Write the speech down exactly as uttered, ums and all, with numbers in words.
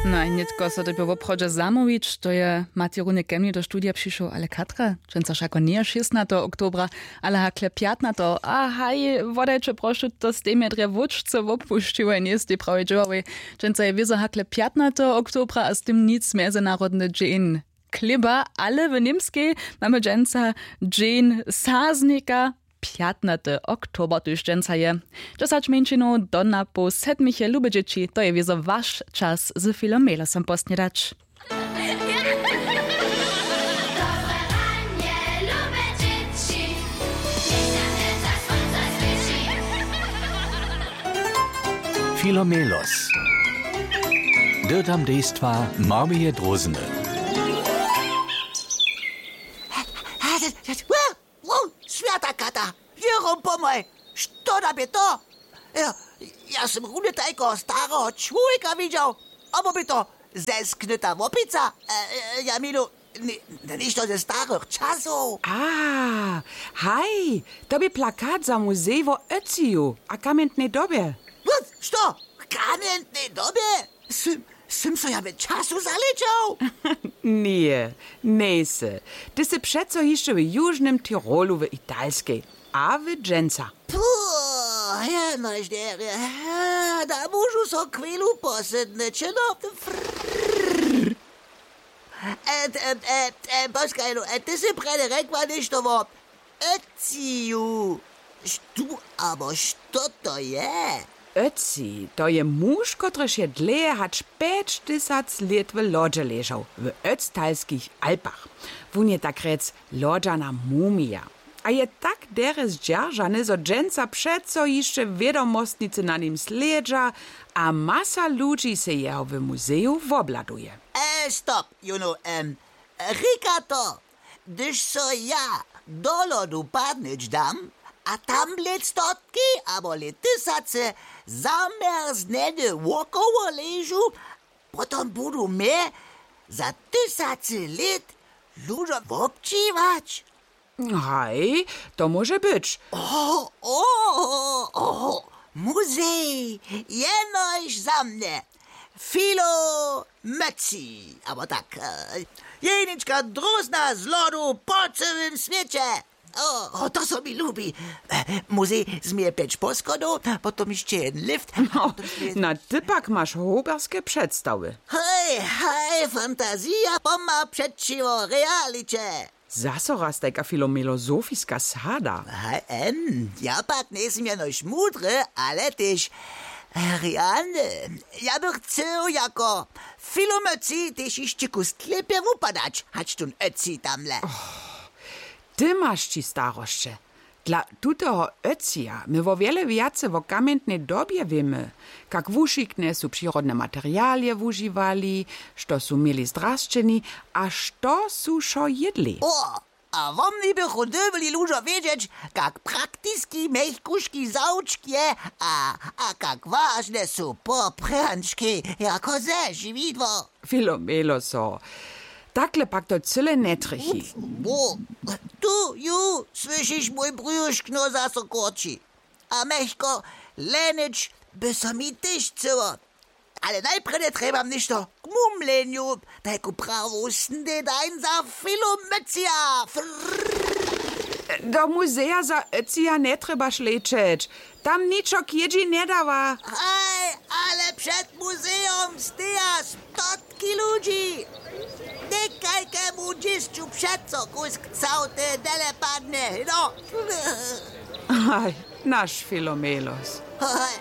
No a nětko so dyrbju woprawdźe zamołwić, to je Matej Runek ke mni do studija přišoł, ale katra, dźensa wšako njeje šěstnateho oktobra, ale hakle pjatnateho. A haj, wodajće prošu, to stej mje drje wóčce wopusćiłoj, njejstej prawje dźěławej. Dźensa je wězo hakle pjatnateho oktobra a z tym nic mjezynarodny dźeń chlěba, ale w Němskej mamy dźensa dźeń saznika. Pjatnaty oktober tuž dźensa je. Dźesać mjeńšinow do na poł sedmich je lube dźěći, to je wězo waš čas z Filom Melosom posnědać. Filomelos. Dyrtam dejstwa Marmije Drozny. Wow, wow, swjata kata, wěrom pomhaj, što da bě to? Ja, ja sym runje tajkeho stareho čłowjeka widźał, abo bě to zesknyta łopica, e, e, ja milu, ni-, ništo ze starych časow. A, haj, to bě plakat za muzej wo Ötciju a kamjentnej dobje. Wót, što? Kamjentnej dobje? Sym, sym so ja w času zalečał? Ně, njejsy. Ty sy přeco hišće w južnym Tirolu w Italskej a w dźensa. Puh, jenož derje, da móžu so chwilu posydnyć, no. Frrrr. E, e, e, e, poškaj, no, e, ty sy prjedy rjekła něšto wo Ötciju. Štó abo što to je? Ötcij, to je muž, kotryž je dlěje hač pjećtysac lět w lodźe ležał w Ötztalskich Alpach. Wón je tak rjec lodźana mumija. A je tak derje zdźeržany, zo dźensa přeco hišće wědomostnicy na nim slědźa a masa ludźi sej jeho w muzeju wobhladuje. E, stop, jónu, em, rěka to, hdyž so ja do lodu padnyć dam a tam lět stotki abo lět tysacy zamjerznjene wokoło ležu, potom budu mje za tysacy lět ludźo wobdźěłać. Haj, to móže być. Oho, oho, oho, muzej, jenož za mnje. Filo Mötzi, abo tak, e, jenička drózna z lodu po cyłym swěće. O, o, to so mi lubi. E, muzej změje pjeć poschodow, potom hišće jedyn lift. No, potom hišće jedyn, na ty pak maš hoberske předstawy. Hej, hej, fantazija pomha přećiwo realiće. Zaso raz tajka filomelozofiska sada. Haj, em, ja pak njejsym jenož mudry, ale tež, e, realny. Ja bych chcył jako Filo Mötzi tež hišće kus lěpje wupadać, hač tón Ötzi tamle. Ty maš ći starosće. Dla tutoho Ötzija my wo wjele wjace wo kamjentnej dobje wěmy, kak wušiknje su přirodne materialije wužiwali, što su měli zdrasćeni a što su wšo jědli. O, a woni bychu dyrbjeli ludźo wědźeć, kak praktiski mjechkuški zawčk je a, a kak wažne su poprjančki jako zežiwidło. Filomelo so. Takle pak to cyle njetrjechi. Bo, tu ju słyšiš, mój brjušk no zaso kórči. A mjechko lenić by so mi tež chcyło. Ale najprjedy trjebam něšto k mumlenju, tajku prawu snědań za Filomycija. Frrrr. Do muzeja za Öcija njetrjebaš lećeć. Tam ničo k jědźi njedawa. Haj, ale před muzejom steja stotki ludźi. Někajkemu dźěsću přeco kusk całty dele padnje, no. Haj, naš Filomelos. Haj,